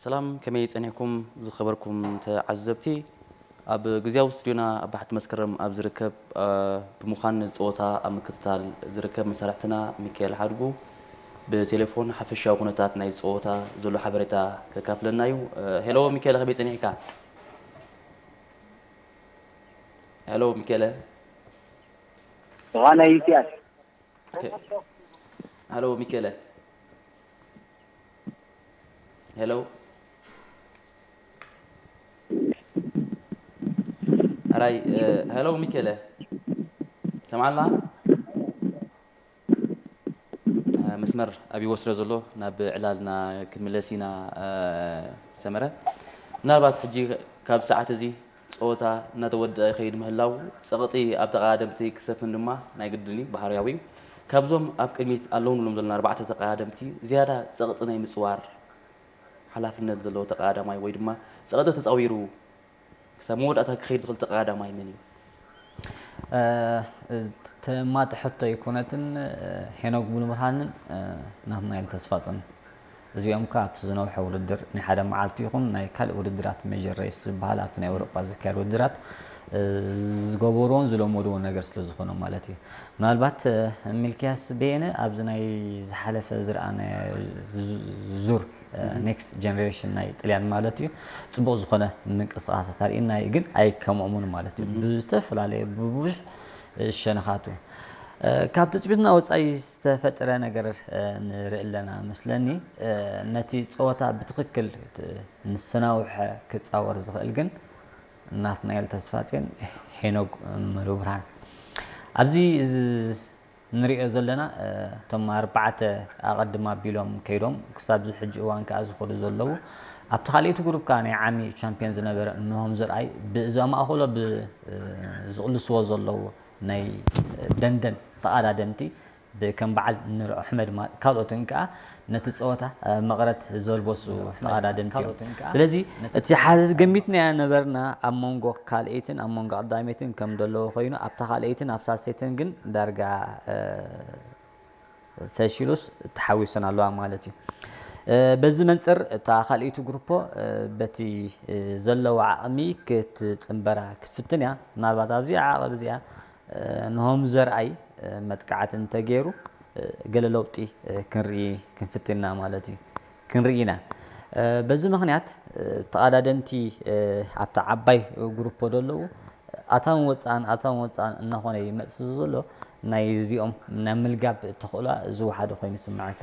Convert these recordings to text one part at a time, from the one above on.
ሰላም፣ ከመይ ጸኒሕኩም ዝኸበርኩም ተዓዘብቲ? ኣብ ግዝያዊ ስቱድዮና ኣብ ባሕቲ መስከረም ኣብ ዝርከብ፣ እ፣ ብምዃን ጸወታ ኣብ ምክትታል ዝርከብ መሳርሕትና ሚካኤል ሓድጉ ብቴሌፎን ሓፈሻዊ ኩነታት ናይ ጸወታ ዘሎ ሓበሬታ ከካፍለና እዩ። እ፣ ሄሎ ሚካኤል፣ ከመይ ጸኒሕካ? ሄሎ ሚካኤል። ዝኾነ ይትያል ኦኬ። ሄሎ ሚካኤል። ሄሎ። ኣራይ፣ እ፣ ሄሎ ሚካኤል። ሰምዓልና? እ፣ መስመር ኣብ ይወስዶ ዘሎ ናብ ዕላልና ክንምለስ ኢና፣ እ፣ ሰመረ። ምናልባት ሕጂ ካብ ሰዓት እዚ ጸወታ እናተወደኣ ይኸይድ ምህላው፣ ጸቕጢ ኣብ ተቐዳደምቲ ክሰፍን ድማ ናይ ግድን እዩ፣ ባህርያዊ እዩ። ካብዞም ኣብ ቅድሚት ኣለዉ ንብሎም ዘለና ኣርባዕተ ተቐዳደምቲ ዝያዳ ጸቕጢ ናይ ምጽዋር ሓላፍነት ዘለዎ ተቐዳዳማይ ወይ ድማ ጸቕጢ ተጻዊሩ ክሳብ መወዳእታ ክኸይድ ዝኽእል ተቐዳዳማይ መን እዩ? ተማጢ ሕቶ ኣይኮነትን። ሄኖክ ሙሉብርሃንን ናትናኤል ተስፋጽዮን፣ እዚኦም ከ ኣብቲ ዝነውሐ ውድድር ናይ ሓደ መዓልቲ ይኹን ናይ ካልእ ውድድራት ሜጀር ሬስ ዝበሃል ኣብቲ ናይ ኤውሮጳ ዝካየድ ውድድራት ዝገበርዎን ዝለመድዎን ነገር ስለ ዝኾነ ማለት እዩ። ምናልባት ሚልክያስ በየነ ኣብዚ ናይ ዝሓለፈ ዝረኣናዮ ዙር ኔክስት ጀነሬሽን ናይ ጥልያን ማለት እዩ ጽቡቕ ዝኾነ ምንቅስቃሳት ኣርእየና እዩ፣ ግን ኣይከምኦምን ማለት እዩ። ብዝተፈላለየ ብብዙሕ ሸነኻቱ ካብ ትጽቢትና ወጻኢ ዝተፈጠረ ነገር ንርኢ ኣለና መስለኒ። ነቲ ጸወታ ብትኽክል ንሰናውሐ ክጻወር ዝኽእል ግን ናትናኤል ተስፋጼን ሄኖግ ሙሉብርሃን ኣብዚ ንሪኦ ዘለና እቶም ኣርባዕተ ኣቐድም ኣቢሎም ከይዶም ክሳብ እዚ ሕጂ እዋን ከኣ ዝኸዱ ዘለዉ ኣብቲ ካልኣይቲ ግሩፕ ከኣ ናይ ዓሚ ቻምፒዮን ዝነበረ እንሆም ዘርኣይ ብእዛ ማእኸሎ ብዝቕልስዎ ዘለዉ ናይ ደንደን ተቐዳደምቲ ብከም በዓል ኑር ኣሕመድ ካልኦትን ከኣ ነቲ ጸወታ መቐረት ዘልበሱ ተቐዳደምቲ እዮም። ስለዚ እቲ ሓዚ ገሚትናዮ ነበርና ኣብ መንጎ ካልኣይትን ኣብ መንጎ ቀዳመይትን ከም ዘለዎ ኮይኑ ኣብታ ካልኣይትን ኣብ ሳልሰይትን ግን ዳርጋ ፈሺሉስ ተሓዊሰን ኣለዋ ማለት እዩ። በዚ መንፅር እታ ካልኣይቲ ግሩፖ በቲ ዘለዋ ዓቕሚ ክትፅንበራ ክትፍትን እያ። ምናልባት ኣብዚኣ ዓቐብ እዚኣ ንሆም ዘርኣይ መጥቃዕቲ እንተገይሩ ገለ ለውጢ ክንርኢ ክንፍትን ኢና ማለት እዩ። ክንርኢ ኢና። በዚ ምኽንያት ተቐዳደምቲ ኣብታ ዓባይ ግሩፖ ዘለዉ ኣታውን ወፃእን ኣታውን ወፃእን እናኾነ ይመፅእ ዘሎ ናይ እዚኦም ናይ ምልጋብ ተኽእሎ ዝወሓደ ኮይኑ ይስምዓካ።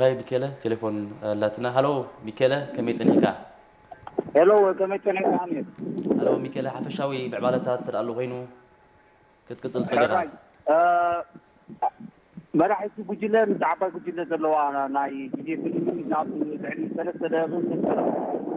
ራይ ሚኬለ ቴሌፎን ኣላትና። ሃሎ ሚኬለ፣ ከመይ ጸኒሕካ? ሄሎ፣ ከመይ ጸኒሕካ ኣሚር? ሃሎ ሚኬለ፣ ሓፈሻዊ ምዕባለታት እንተ ኣሎ ኮይኑ ክትቅጽል ትኽእል ኢኻ። ሕራይ፣ እ፣ መራሒቲ ጉጅለ ምስ ዓባይ ጉጅለ ዘለዋ ናይ ግዜ ፍልልይ ናብ ልዕሊ ሰለስተ ደቂቕ